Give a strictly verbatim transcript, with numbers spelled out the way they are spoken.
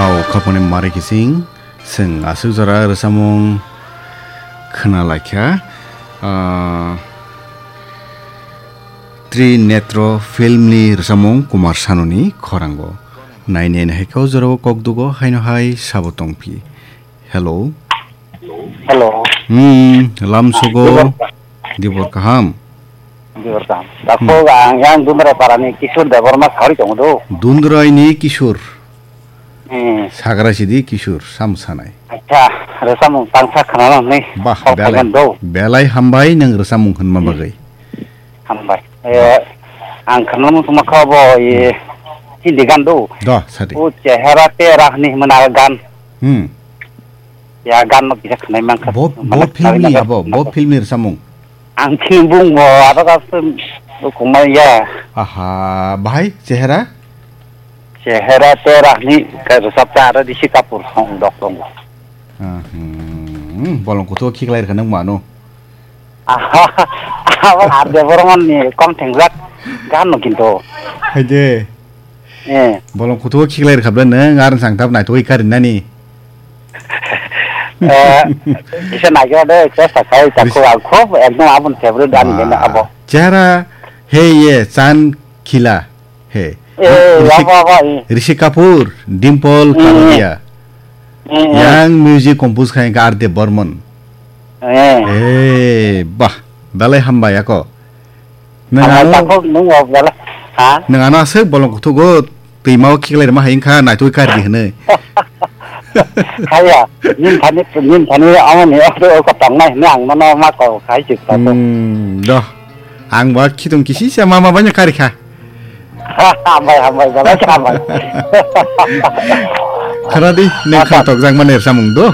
Au khaponi mari kising, seng aswk jora rwchapmung khna laikha. Ah, Trinetro filmni rwchapmung Kumar Sanuni khorango. Nainai naikha o jorao kokdugo haino hai sabo tongphi. Hello. Hello. Hmm, lamsogo. Dibor kaham. Dibor kaham. Dakhok ang yang Dundrai parani Kishore Debbarma sawi tongo do. Dundraini Kishore. Hmm. Sagra sidi Kishore, sam sanai. Acha, rwchapmung tangsa khwnana hwnwi Bah, call belai, khaimani do. Belai hambai nwng rwchapmung hwnma bagwi. Hambai. Eh, ang khwnamung tongma kha bo, eh, Hindi gan do. Do, sadi. O chehera tera hwnwi hwnmani gan. Hmm. Ya, gan no kisa khwnai mankha. Bo, bo filmni abo, bo filmni rwchapmung. Ang film bung bo, abo ka film bukung mai ya. Aha, bahai chehera? Chehera tera ni ka rwchapta aro Rishi Kapoor song dok tongo. Ah, hmm, bolong kutu khiklai rwkha nang mano. Aha, abo ar de borong ni kom thengjak gan no kinto. Haide. Eh. Bolong kutugo khiklai rwkha bwle nwng, ar nwsang tab naitugwi karinani. Eh, kisa naikhe de, chesta khai, takhuk ang khub ekdom aboni favorite ani bini abo. Chehara he ye chan khila he. Eh, Rishi, abo, abo, eh. Rishi Kapoor, Dimple Kapadia. Eh, eh. Yang music compose khai R D Burman. Eh. Eh, bah, belai hambai ako. Nwng ano, takhuk nwng o bela, ha? Nwng ano aswk bolong kuthugo twima o khiklai rwma hai wngkha, naitugwi kari di hwnwi. Haya, nin thani, nin thani amoni o, o tongnai hwnwi ang nono ma kok khai si takhuk. Hmm, do. Ang ba khitung kisi se mama banya kari kha. Hambai, hambai, belai hambai. Khana di, nwng kha tokjak mani rwchapmung do.